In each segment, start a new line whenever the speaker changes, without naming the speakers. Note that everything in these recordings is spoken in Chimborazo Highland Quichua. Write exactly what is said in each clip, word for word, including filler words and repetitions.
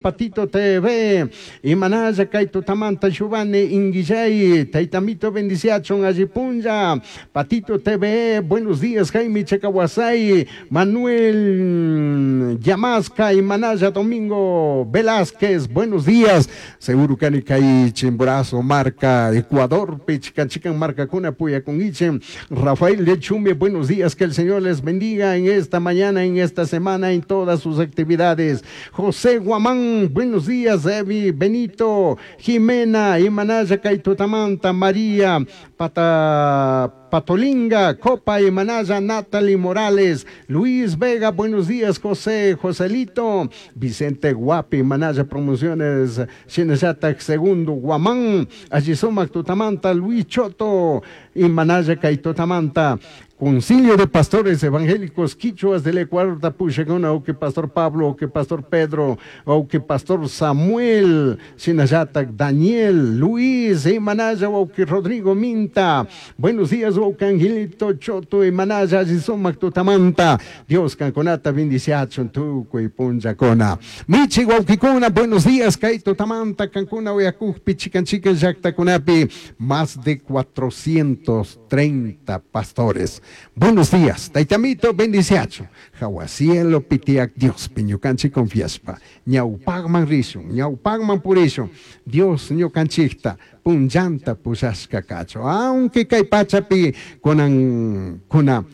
Patito T V, Imanalla kay tutamanta Giovanni Inguillay, Taitamito bendiciachun allipunlla, Patito T V, buenos días. Jaime Chacahuasay, Manuel Yamasca, Imanalla Domingo Velázquez, buenos días. Seguro kani kay Chimborazo marka, Ecuador, Pichican Chican marka kuna puya con Ichen, Rafael Lechume, buenos días, que el Señor les bendiga en esta mañana, en esta semana, en todas sus actividades. José Guamán, buenos días. Evi, Benito, Jimena, Imanaya Kaitutamanta, María, Pata, Patolinga, Copa, Imanaya, Natalie Morales, Luis Vega, buenos días. José, Joselito, Vicente Guapi, Manaya Promociones, Shinayata Segundo, Guamán, Allisumac Tutamanta, Luis Choto, Imanaya Kaitutamanta, Concilio de Pastores Evangélicos Quichuas del Ecuador, Tapuchaguna, o que Pastor Pablo, o que Pastor Pedro, o que Pastor Samuel, Shinayata, Daniel, Luis, Imanaya, o que Rodrigo Minta. Buenos días, o que Angelito Choto, Imanaya, Allisumac Tutamanta. Dios kankunata bendiciachun tukuy punllakuna. Michi wawkikuna, buenos días, kay tutamanta, kankuna, uyakujpi, chikan chikan llaktakunapi, más de cuatrocientos treinta pastores. Buenos días, Taitamito bendiciacho. Jahua cielo pi tiyak Dios, pi ñukanchik confiaspa. Ñawpakman rishun, ñawpakman purishun. Dios ñukanchikta, punllanta pushashka kachun. Aunque kay pachapi kunan kuna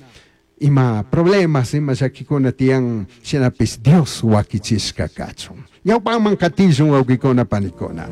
ima problemas, ima llakikuna tiyan, shinapish Dios wakichishka kachun. Ñawpakman katishun wawkikuna panikuna.